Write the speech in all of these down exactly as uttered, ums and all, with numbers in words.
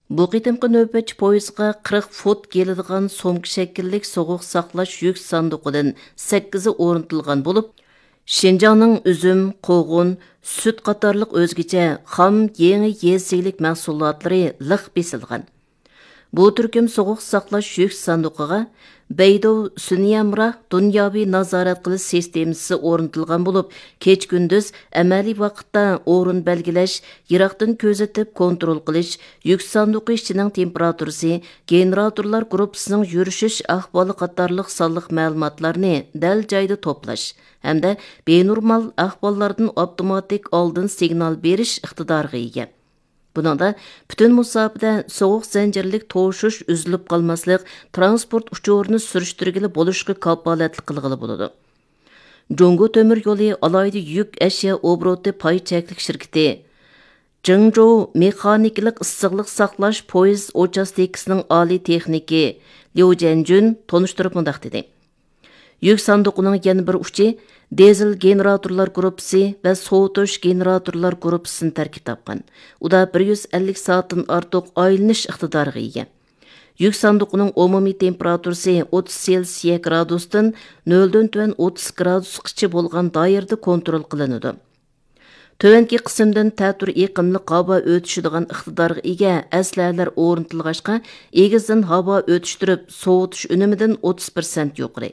بۇ قېتىمقى نۆۋەتچى پويىزغا قىرىق فوت كېلىدىغان سومكا شەكىللىك سوغۇق ساقلاش يۈك ساندۇقىدىن سەككىزى ئورنىتىلغان بولۇپ، شىنجاڭنىڭ ئۈزۈم، قوغۇن، سۈت قاتارلىق ئۆزگىچە خام يېڭى يېزا ئىگىلىك مەھسۇلاتلىرى لىق بېسىلغان. بۇ تۈركۈم سوغۇق ساقلاش يۈك ساندۇقىغا بەيدۇ سۈنيەمراھ دۇنياۋى نازارەت قىلىش سىستېمىسى ئورنىتىلغان بولۇپ، كېچە-كۈندۈز ئەمەلىي ۋاقىتتا ئورۇن بەلگىلەش، يىراقتىن كۆزىتىپ كونترول قىلىش، يۈك ساندۇقى ئىچىنىڭ تېمپېراتۇرىسى، گېنېراتورلار گۇرۇپپىسىنىڭ يۈرۈشۈش ئەھۋالى قاتارلىق سانلىق مەلۇماتلارنى دەل جايىدا توپلاش ھەمدە بىنورمال ئەھۋاللاردىن ئاپتوماتىك ئالدىن سىگنال بېرىش ئىقتىدارىغا ئىگە. بۇنىڭدا پۈتۈن مۇساپىدە سوغۇق زەنجىرلىك توشۇش ئۈزۈلۈپ قالماسلىق، ترانسپورت ئۇچۇرىنى سۈرۈشتۈرگىلى بولۇشقا كاپالەتلىك قىلغىلى بولىدۇ. جۇڭگو تۆمۈر يولى ئالاھىدە يۈك ئەشيا ئوبوروتى پاي چەكلىك شىركىتى جېڭجوۋ مېخانىكىلىق ئىسسىقلىق ساقلاش پويىز ئۇچاستكىسىنىڭ ئالىي تېخنىكى ليۇ جيەنجۈن تونۇشتۇرۇپ مۇنداق دېدى: يۈك ساندۇقىنىڭ يەنە بىر ئۇچى دىزېل گېنېراتورلار گۇرۇپپىسى ۋە سوۋۇتۇش گېنېراتورلار گۇرۇپپىسىدىن تەركىب تاپقان. ئۇدا بىر يۈز ئەللىك سائەتتىن ئارتۇق ئايلىنىش ئىقتىدارىغا ئىگە. يۈك ساندۇقىنىڭ ئومۇمىي تېمپېراتۇرىسى ئوتتۇز سېلسىيە گرادۇستىن نۆلدىن تۆۋەن ئوتتۇز گرادۇسقىچە بولغان دائىرىدە كونترول قىلىنىدۇ. تۆۋەنكى قىسىمدىن تەتۈر ئېقىملىق ھاۋا ئۆتۈشىدىغان ئىقتىدارغا ئىگە ئەسلىھەلەر ئورنىتىلغاچقا، ئېگىزدىن ھاۋا ئۆتۈشتۈرۈپ سوۋۇتۇش ئۈنۈمىدىن ئوتتۇز پىرسەنت يۇقىرى.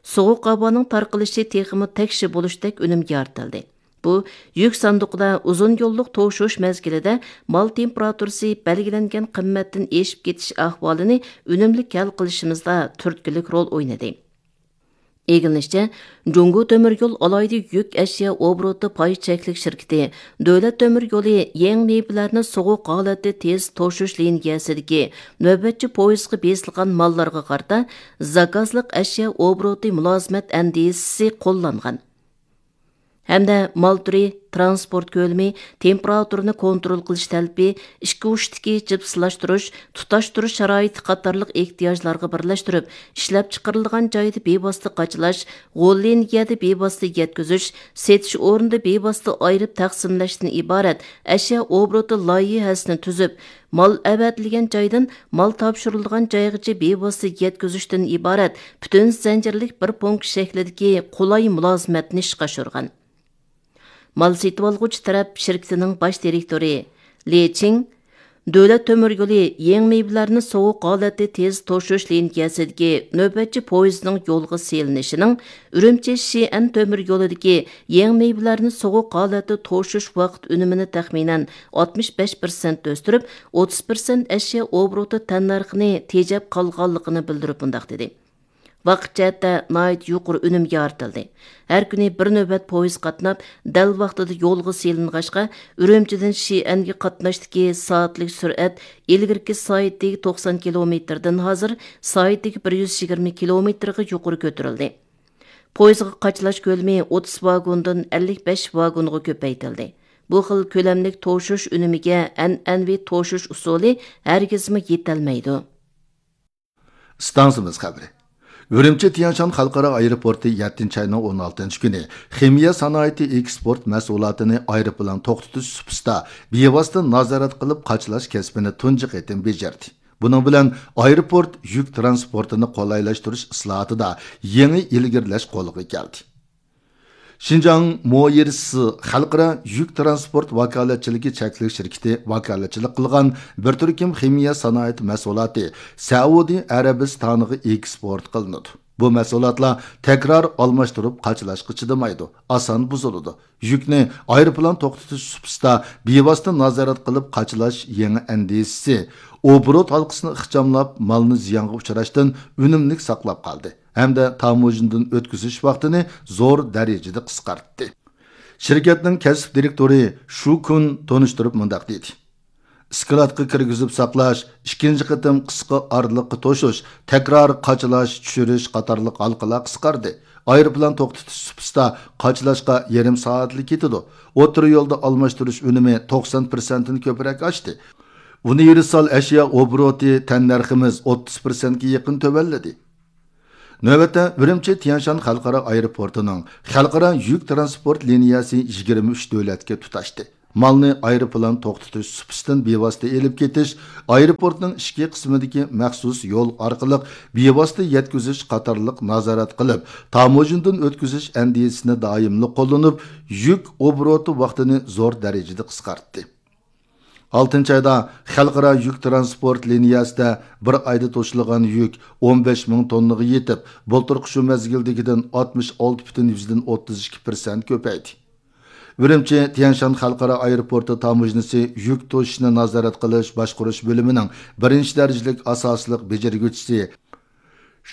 سوغۇق ھاۋانىڭ تارقىلىشى تېخىمۇ تەكشى بولۇشتەك ئۈنۈمگە يارىتىلدى. بۇ يۈك ساندۇقىدا ئۇزۇن يوللۇق توشۇش مەزگىلىدە مال تېمپېراتۇرىسى بەلگىلەنگەن قىممەتتىن ئېشىپ كېتىش ئەھۋالىنى ئۈنۈملۈك ھەل قىلىشىمىزدا تۈرتكىلىك رول ئوينىدى. ئىگىلىنىشىچە، جۇڭگو تۆمۈر يول ئالاھىدە يۈك ئەشيا ئوبوروتى پاي چەكلىك شىركىتى دۆلەت تۆمۈر يولى يېڭى مېۋىلەرنى سوغۇق ھالەتتە تېز توشۇش لىنىيەسىدىكى نۆۋەتچى پويىزغا بېسىلغان ماللارغا قارىتا زاكازلىق ئەشيا ئوبوروتى مۇلازىمەت ئەندىزىسى قوللانغان. ھەمدە مال تۈرى، تىرانسپورت كۆلىمى، تېمپېراتۇرىنى كونترول قىلىش تەلىپى، ئىككى ئۇچتىكى جىپسلاشتۇرۇش، تۇتاشتۇرۇش شارائىتى قاتارلىق ئېھتىياجلارغا بىرلەشتۈرۈپ، ئىشلەپچىقىرىلغان جايدا بىۋاسىتە قاچىلاش، غول لىنىيەدە بىۋاسىتە يەتكۈزۈش، سېتىش ئورنىدا بىۋاسىتە ئايرىپ تەقسىملەشتىن ئىبارەت ئەشيا ئوبوروتى لايىھەسىنى تۈزۈپ، مال ئەۋەتىلگەن جايدىن مال تاپشۇرۇلىدىغان جايغىچە بىۋاسىتە يەتكۈزۈشتىن ئىبارەت پۈتۈن زەنجىرلىك بىر پونكىت شەكلىدىكى قولاي مۇلازىمەتنى ئىشقا ئاشۇرغان. مال سېتىۋالغۇچى تەرەپ شىركىتىنىڭ باش دىرېكتورى لى چىڭ دۆلەت تۆمۈر يولى يېڭى مېۋىلەرنى سوغۇق ھالەتتە تېز توشۇش لىنىيەسىدىكى نۆۋەتچى پويىزنىڭ يولغا سېلىنىشىنىڭ ئۈرۈمچى شىئەن تۆمۈر يولىدىكى يېڭى مېۋىلەرنى سوغۇق ھالەتتە توشۇش ۋاقىت ئۈنۈمىنى تەخمىنەن ئاتمىش بەش پىرسەنت ئۆستۈرۈپ، ئوتتۇز پىرسەنت ئەشيا ئوبوروتى تەننەرخىنى تېجەپ قالغانلىقىنى بىلدۈرۈپ مۇنداق دېدى: ۋاقىت جەھەتتە ناھايىتى يۇقىرى ئۈنۈم يارىتىلدى. ھەر كۈنى بىر نۆۋەت پويىز قاتناپ، دەل ۋاقتىدا يولغا سېلىنغاچقا، ئۈرۈمچىدىن شىئەنگە قاتناشتىكى سائەتلىك سۈرئەت ئىلگىرىكى سائىتىگە توقسان كىلومېتىردىن ھازىر سائىتىگە بىر يۈز يىگىرمە كىلومېتىرغا يۇقىرى كۆتۈرۈلدى. پويىزغا قاچىلاش كۆلىمى ئوتتۇز ۋاگوندىن ئەللىك بەش ۋاگونغا كۆپەيتىلدى. بۇ خىل كۆلەملىك توشۇش ئۈنۈمىگە ئەنئەنىۋى توشۇش ئۇسۇلى ھەرگىزمۇ يېتەلمەيدۇ. ئىستانسىمىز خەۋىرى. ئۈرۈمچى تيەنشان خەلقئارا ئايروپورتى يەتتىنچى ئاينىڭ ئون ئالتىنچى كۈنى خىمىيە سانائىتى ئېكسپورت مەھسۇلاتىنى ئايروپىلان توختىتىش سۇپىسىدا بىۋاسىتە نازارەت قىلىپ قاچىلاش كەسپىنى تۇنجى قېتىم بېجىردى. بۇنىڭ بىلەن ئايروپورت يۈك ترانسپورتىنى قولايلاشتۇرۇش ئىسلاھاتىدا يېڭى ئىلگىرىلەش قولغا كەلدى. شىنجاڭ مويىرسى خەلقئارا يۈك ترانسپورت ۋاكالەتچىلىكى چەكلىك شىركىتى ۋاكالەتچىلىك قىلغان بىر تۈركۈم خىمىيە سانائەت مەھسۇلاتى سەئۇدى ئەرەبىستانىغا ئېكسپورت قىلىنىدۇ. بۇ مەھسۇلاتلار تەكرار ئالماشتۇرۇپ قاچىلاشقا چىدىمايدۇ، ئاسان بۇزۇلىدۇ. يۈكنى ئايروپىلان توختىتىش سۇپىسىدا بىۋاسىتە نازارەت قىلىپ قاچىلاش يېڭى ئەندىزىسى ئوبوروت ھالقىسىنى ئىخچاملاپ، مالنى زىيانغا ئۇچراشتىن ئۈنۈملۈك ساقلاپ قالدى ھەمدە تاموژنىدىن ئۆتكۈزۈش ۋاقتىنى زور دەرىجىدە قىسقارتتى. شىركەتنىڭ كەسىپ دىرېكتورى شۇ كۈن تونۇشتۇرۇپ مۇنداق دېدى: ئىسكىلاتقا كىرگۈزۈپ ساقلاش، ئىككىنچى قېتىم قىسقا ئارىلىققا توشۇش، تەكرار قاچىلاش، چۈشۈرۈش قاتارلىق ھالقىلار قىسقاردى. ئايروپىلان توختىتىش سۇپىسىدا قاچىلاشقا يېرىم سائەتلا كېتىدۇ. ئوتتۇرا يولدا ئالماشتۇرۇش ئۈنۈمى توقسان پىرسەنتتىن كۆپرەك ئاشتى. ئۇنىۋېرسال ئەشيا ئوبوروتى تەننەرخىمىز ئوتتۇز پىرسەنتكە يېقىن تۆۋەنلىدى. نۆۋەتتە ئۈرۈمچى تيەنشان خەلقئارا ئايروپورتىنىڭ خەلقئارا يۈك ترانسپورت لىنىيەسى يىگىرمە ئۈچ دۆلەتكە تۇتاشتى. مالنى ئايروپىلان توختىتىش سۇپىسىدىن بىۋاسىتە ئېلىپ كېتىش، ئايروپورتنىڭ ئىچكى قىسمىدىكى مەخسۇس يول ئارقىلىق بىۋاسىتە يەتكۈزۈش قاتارلىق نازارەت قىلىپ، تاموژنىدىن ئۆتكۈزۈش ئەندىزىسىنى دائىملىق قوللىنىپ، يۈك ئوبوروتى ۋاقتىنى زور دەرىجىدە قىسقارتتى. ئالتىنچى ئايدا خەلقئارا يۈك تىرانسپورت لىنىيەسىدە بىر ئايدا توشۇلغان يۈك ئون بەش مىڭ توننىغا يېتىپ، بۇلتۇرقى شۇ مەزگىلدىكىدىن ئاتمىش ئالتە پۈتۈن يۈزدىن ئوتتۇز ئىككى پىرسەنت كۆپەيدى. ئۈرۈمچى تيەنشان خەلقئارا ئايروپورتى تاموژنىسى يۈك توشۇشنى نازارەت قىلىش باشقۇرۇش بۆلۈمىنىڭ بىرىنچى دەرىجىلىك ئاساسلىق بېجىرگۈچىسى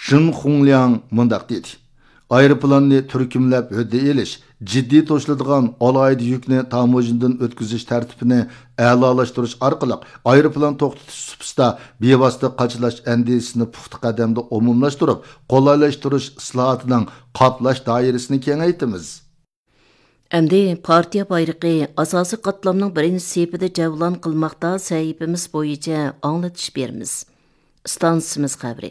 شېن خۇڭلياڭ مۇنداق دېدى: ئايروپىلاننى تۈركۈملەپ ھۆددە ئېلىش، جىددىي توشۇلىدىغان ئالاھىدە يۈكنى تاموژنىدىن ئۆتكۈزۈش تەرتىپىنى ئەلالاشتۇرۇش ئارقىلىق، ئايروپىلان توختىتىش سۇپىسىدا بىۋاسىتە قاچىلاش ئەندىزىسىنى پۇختا قەدەمدە ئومۇملاشتۇرۇپ، قولايلاشتۇرۇش ئىسلاھاتىنىڭ قاپلاش دائىرىسىنى كېڭەيتىمىز. ئەمدى پارتىيە بايرىقى ئاساسىي قاتلامنىڭ بىرىنچى سېپىدە جەۋلان قىلماقتا سەھىپىمىز بويىچە ئاڭلىتىش بېرىمىز. ئىستانسىمىز خەۋىرى.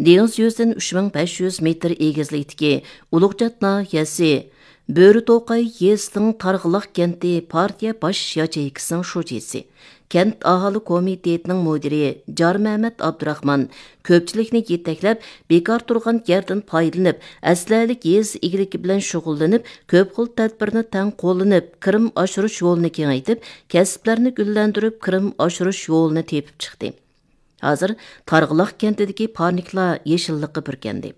دېڭىز يۈزىدىن ئۈچ مىڭ بەش يۈز مېتىر ئېگىزلىكتىكى ئۇلۇغچات ناھىيەسى بۆرىتوقاي يېزىسىنىڭ تارغىلاق كەنتى پارتىيە باش ياچېيكىسىنىڭ شۇجىسى، كەنت ئاھالە كومىتېتىنىڭ مۇدىرى جارمەمەت ئابدۇراخمان كۆپچىلىكنى يېتەكلەپ، بىكار تۇرغان يەردىن پايدىلىنىپ، ئەسلىھەلىك يېزا ئىگىلىكى بىلەن شۇغۇللىنىپ، كۆپ خىل تەدبىرنى تەڭ قوللىنىپ، كىرىم ئاشۇرۇش يولىنى كېڭەيتىپ، كەسىپلەرنى گۈللەندۈرۈپ، كىرىم ئاشۇرۇش يولىنى تېپىپ چىقتى. ھازىر تارغىلاق كەنتىدىكى پارنىكلار يېشىللىققا بۈركەندى.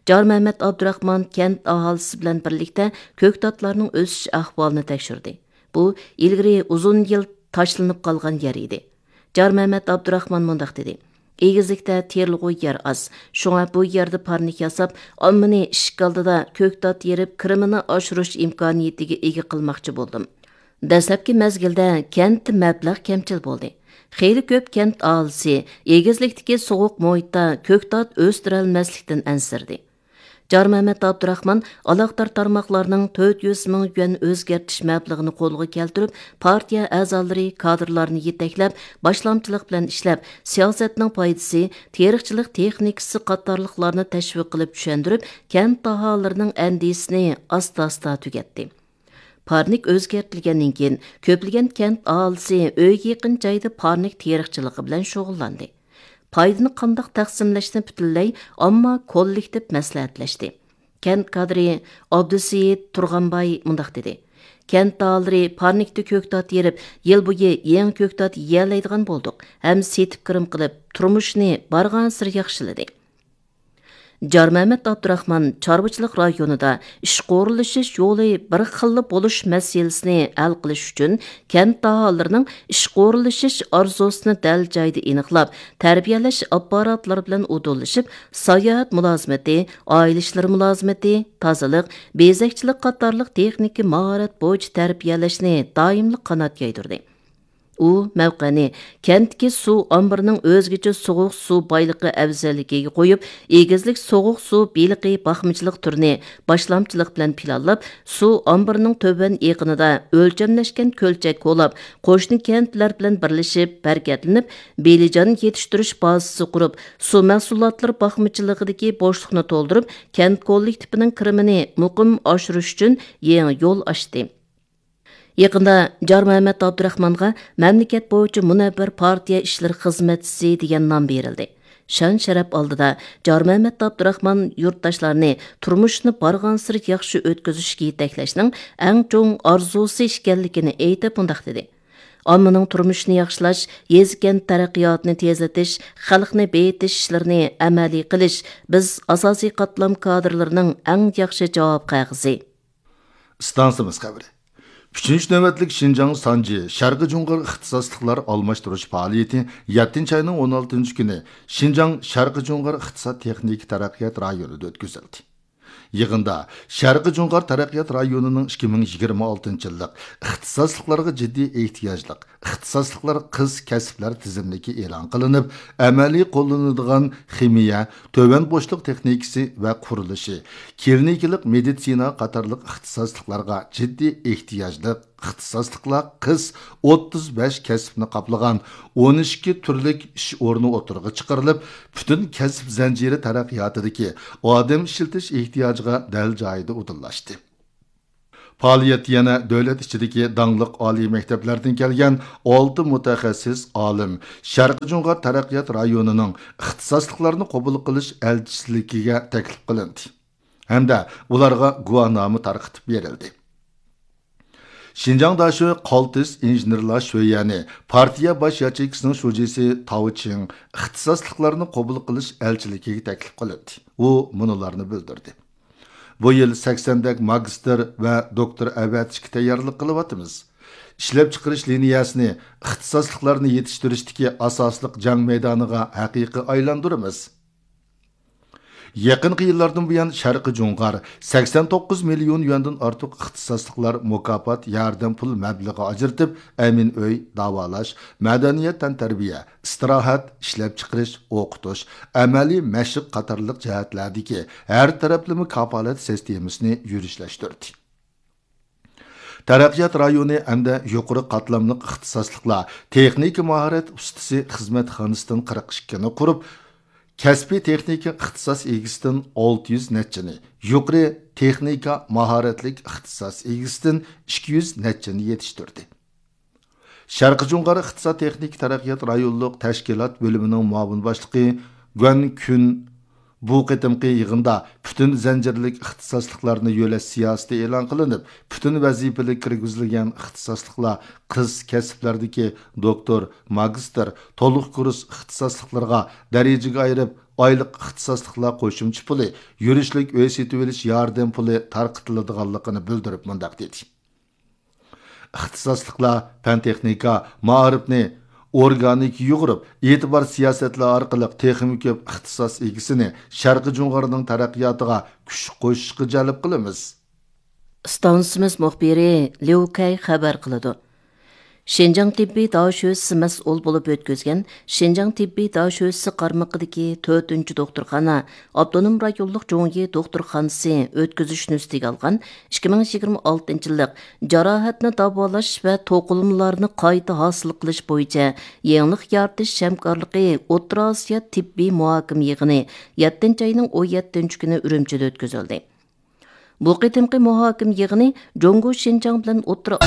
جارمەمەت ئابدۇراخمان كەنت ئاھالىسى بىلەن بىرلىكتە كۆكتاتلارنىڭ ئۆسۈش ئەھۋالىنى تەكشۈردى. بۇ ئىلگىرى ئۇزۇن يىل تاشلىنىپ قالغان يەر ئىدى. جارمەمەت ئابدۇراخمان مۇنداق دېدى: ئېگىزلىكتە تېرىلغۇ يەر ئاز. شۇڭا بۇ يەردە پارنىك ياساپ، ئاممىنى ئىشىك ئالدىدا كۆكتات يېرىپ، كىرىمىنى ئاشۇرۇش ئىمكانىيىتىگە ئىگە قىلماقچى بولدۇم. دەسلەپكى مەزگىلدە كەنتتە مەبلەغ كەمچىل بولدى. خېلى كۆپ كەنت ئاھالىسى ئېگىزلىكتىكى سوغۇق مۇھىتتا كۆكتات ئۆستۈرەلمەسلىكتىن ئەنسىرىدى. جارمەمەت ئابدۇراخمان ئالاقىدار تارماقلارنىڭ تۆت يۈز مىڭ يۈەن ئۆزگەرتىش مەبلىغىنى قولغا كەلتۈرۈپ، پارتىيە ئەزالىرى، كادىرلارنى يېتەكلەپ، باشلامچىلىق بىلەن ئىشلەپ، سىياسەتنىڭ پايدىسى، تېرىقچىلىق تېخنىكىسى قاتارلىقلارنى تەشۋىق قىلىپ چۈشەندۈرۈپ، كەنت ئاھالىلىرىنىڭ ئەندىزىسىنى ئاستا-ئاستا تۈگەتتى. پارنىك ئۆزگەرتىلگەندىن كېيىن، كۆپلىگەن كەنت ئاھالىسى ئۆيگە يېقىن جايدا پارنىك تېرىقچىلىقى بىلەن شۇغۇللاندى. پايدىنى قانداق تەقسىملەشنى پۈتۈنلەي ئامما كوللېكتىپ مەسلىھەتلەشتى. كەنت كادىرى ئابدۇسېيىت تۇرغانباي مۇنداق دېدى: كەنت ئاھالىلىرى پارنىكتا كۆكتات يېرىپ، يىل بويى يېڭى كۆكتات يېيەلەيدىغان بولدۇق ھەم سېتىپ كىرىم قىلىپ، تۇرمۇشىنى بارغانسېرى ياخشىلىدى. جارمەمەت ئابدۇراخمان چارۋىچىلىق رايونىدا ئىشقا ئورۇنلىشىش يولى بىر خىللا بولۇش مەسىلىسىنى ھەل قىلىش ئۈچۈن، كەنت ئاھالىلىرىنىڭ ئىشقا ئورۇنلىشىش ئارزۇسىنى دەل جايىدا ئېنىقلاپ، تەربىيەلەش ئاپپاراتلىرى بىلەن ئۇدۇللىشىپ، ساياھەت مۇلازىمىتى، ئائىلە ئىشلىرى مۇلازىمىتى، تازىلىق، بېزەكچىلىك قاتارلىق تېخنىكا ماھارەت بويىچە تەربىيەلەشنى دائىملىق قانات يايدۇردى. ئۇ مەۋقەنى كەنتتىكى سۇ ئامبىرىنىڭ ئۆزگىچە سوغۇق سۇ بايلىقى ئەۋزەللىكىگە قويۇپ، ئېگىزلىك سوغۇق سۇ بېلىقى باقمىچىلىق تۈرىنى باشلامچىلىق بىلەن پىلانلاپ، سۇ ئامبىرىنىڭ تۆۋەن ئېقىنىدا ئۆلچەملەشكەن كۆلچەك كولاپ، قوشنا كەنتلەر بىلەن بىرلىشىپ ھەرىكەتلىنىپ، بېلىجان يېتىشتۈرۈش بازىسى قۇرۇپ، سۇ مەھسۇلاتلىرى باقمىچىلىقىدىكى بوشلۇقنى تولدۇرۇپ، كەنت كوللېكتىپىنىڭ كىرىمىنى مۇقىم ئاشۇرۇش ئۈچۈن يېڭى يول ئاچتى. يېقىندا جارمەمەت ئابدۇراخمانغا مەملىكەت بويىچە مۇنەۋۋەر پارتىيە ئىشلىرى خىزمەتچىسى دېگەن نام بېرىلدى. شان-شەرەپ ئالدىدا جارمەمەت ئابدۇراخمان يۇرتداشلارنى تۇرمۇشنى بارغانسېرى ياخشى ئۆتكۈزۈشكە يېتەكلەشنىڭ ئەڭ چوڭ ئارزۇسى ئىكەنلىكىنى ئېيتىپ مۇنداق دېدى: ئاممىنىڭ تۇرمۇشىنى ياخشىلاش، يېزا-كەنت تەرەققىياتىنى تېزلىتىش، خەلقنى بېيىتىش ئىشلىرىنى ئەمەلىي قىلىش بىز ئاساسىي قاتلام كادىرلىرىنىڭ ئەڭ ياخشى جاۋاب قەغىزى. ئىستانسىمىز خەۋىرى. ئۈچىنچى نۆۋەتلىك شىنجاڭ سانجى شەرقىي جۇڭغار ئىختىساسلىقلار ئالماشتۇرۇش پائالىيىتى يەتتىنچى ئاينىڭ ئون ئالتىنچى كۈنى شىنجاڭ شەرقىي جۇڭغار ئىقتىساد تېخنىكا تەرەققىيات رايونىدا ئۆتكۈزۈلدى. يىغىندا شەرقىي جۇڭغار تەرەققىيات رايونىنىڭ ئىككى مىڭ يىگىرمە ئالتىنچى يىللىق ئىختىساسلىقلارغا جىددىي ئېھتىياجلىق ئىختىساسلىقلار قىس كەسىپلەر تىزىملىكى ئېلان قىلىنىپ، ئەمەلىي قوللىنىدىغان خىمىيە، تۆۋەن بوشلۇق تېخنىكىسى ۋە قۇرۇلۇشى، كلىنىكىلىق مېدىتسىنا قاتارلىق ئىختىساسلىقلارغا جىددىي ئېھتىياجلىق ئىختىساسلىقلار قىس ئوتتۇز بەش كەسىپنى قاپلىغان ئون ئىككى تۈرلۈك ئىش ئورنى ئوتتۇرىغا چىقىرىلىپ، پۈتۈن كەسىپ زەنجىرى تەرەققىياتىدىكى ئادەم ئىشلىتىش ئېھتىياجىغا دەل جايىدا ئۇدۇللاشتى. پائالىيەتتە يەنە دۆلەت ئىچىدىكى داڭلىق ئالىي مەكتەپلەردىن كەلگەن ئالتە مۇتەخەسسىس ئالىم شەرقىي جۇڭغار تەرەققىيات رايونىنىڭ ئىختىساسلىقلارنى قوبۇل قىلىش ئەلچىلىكىگە تەكلىپ قىلىندى ھەمدە ئۇلارغا گۇۋاھنامە تارقىتىپ بېرىلدى. شىنجاڭ داشۆ قالتىس ئىنژېنېرلار شۆيۈەنى پارتىيە باش ياچېيكىسىنىڭ شۇجىسى تاۋ چىڭ ئىختىساسلىقلارنى قوبۇل قىلىش ئەلچىلىكىگە تەكلىپ قىلىندى. ئۇ مۇنۇلارنى بىلدۈردى. بۇ يىل سەكسەندەك ماگىستىر ۋە دوكتور ئەۋەتىشكە تەييارلىق قىلىۋاتىمىز. ئىشلەپچىقىرىش لىنىيەسىنى ئىختىساسلىقلارنى يېتىشتۈرۈشتىكى ئاساسلىق جەڭ مەيدانىغا ھەقىقىي ئايلاندۇرىمىز. يېقىنقى يىللاردىن بۇيان، شەرقىي جۇڭغار سەكسەن توققۇز مىليون يۈەندىن ئارتۇق ئىختىساسلىقلار مۇكاپات ياردەم پۇل مەبلىغى ئاجرىتىپ، ئەمىن ئۆي، داۋالاش، مەدەنىيەت، تەنتەربىيە، ئىستىراھەت، ئىشلەپچىقىرىش، ئوقۇتۇش، ئەمەلىي مەشىق قاتارلىق جەھەتلەردىكى ھەر تەرەپلىمە كاپالەت سىستېمىسىنى يۈرۈشلەشتۈردى. تەرەققىيات رايونى ھەمدە يۇقىرى قاتلاملىق ئىختىساسلىقلار تېخنىكا ماھارەت ئۇستىسى خىزمەتخانىسىدىن قىرىق ئىككىنى قۇرۇپ، كەسپىي تېخنىكا ئىختىساس ئىگىسىدىن ئالتە يۈز نەچچىنى، يۇقىرى تېخنىكا ماھارەتلىك ئىختىساس ئىگىسىدىن ئىككى يۈز نەچچىنى يېتىشتۈردى. شەرقىي جۇڭغار ئىقتىساد تېخنىكا تەرەققىيات رايونلۇق تەشكىلات بۆلۈمىنىڭ مۇئاۋىن باشلىقى گۇەن كۈن بۇ قېتىمقى يىغىندا پۈتۈن زەنجىرلىك ئىختىساسلىقلارنى يۆلەش سىياسىتى ئېلان قىلىنىپ، پۈتۈن ۋەزىپىلىك كىرگۈزۈلگەن ئىختىساسلىقلار قىس كەسىپلەردىكى دوكتور، ماگىستىر، تولۇق كۇرس ئىختىساسلىقلىرىغا دەرىجىگە ئايرىپ، ئايلىق ئىختىساسلىقلار قوشۇمچە پۇلى، يۈرۈشلۈك ئۆي سېتىۋېلىش ياردەم پۇلى تارقىتىلىدىغانلىقىنى بىلدۈرۈپ مۇنداق دېدى. ئىختىساسلىقلار پەن-تېخنىكا، مائارىپنى ئورگانىك يۇغۇرۇپ، ئېتىبار سىياسەتلىرى ئارقىلىق تېخىمۇ كۆپ ئىختىساس ئىگىسىنى شەرقىي جۇڭغارنىڭ تەرەققىياتىغا كۈچ قوشۇشقا جەلپ قىلىمىز. ئىستانسىمىز مۇخبىرى ليۇ كەي خەۋەر قىلىدۇ. شىنجاڭ تېببىي داشۆسى مەسئۇل بولۇپ ئۆتكۈزگەن شىنجاڭ تېببىي داشۆسى قارمىقىدىكى تۆتىنچى دوختۇرخانا ئاپتونوم رايونلۇق جۇڭيى دوختۇرخانىسى ئۆتكۈزۈش نۆۋىتىگە ئالغان ئىككى مىڭ يىگىرمە ئالتىنچى يىللىق جاراھەتنى داۋالاش ۋە توقۇلمىلارنى قايتا ھاسىل قىلىش بويىچە يېڭىلىق يارىتىش ھەمكارلىقى ئوتتۇرا ئاسىيا تېببىي مۇھاكىمە يىغىنى يەتتىنچى ئاينىڭ ئون يەتتىنچى كۈنى ئۈرۈمچىدە ئۆتكۈزۈلدى. بۇ قېتىمقى مۇھاكىمە يىغىنى جۇڭگو شىنجاڭ بىلەن ئوتتۇرا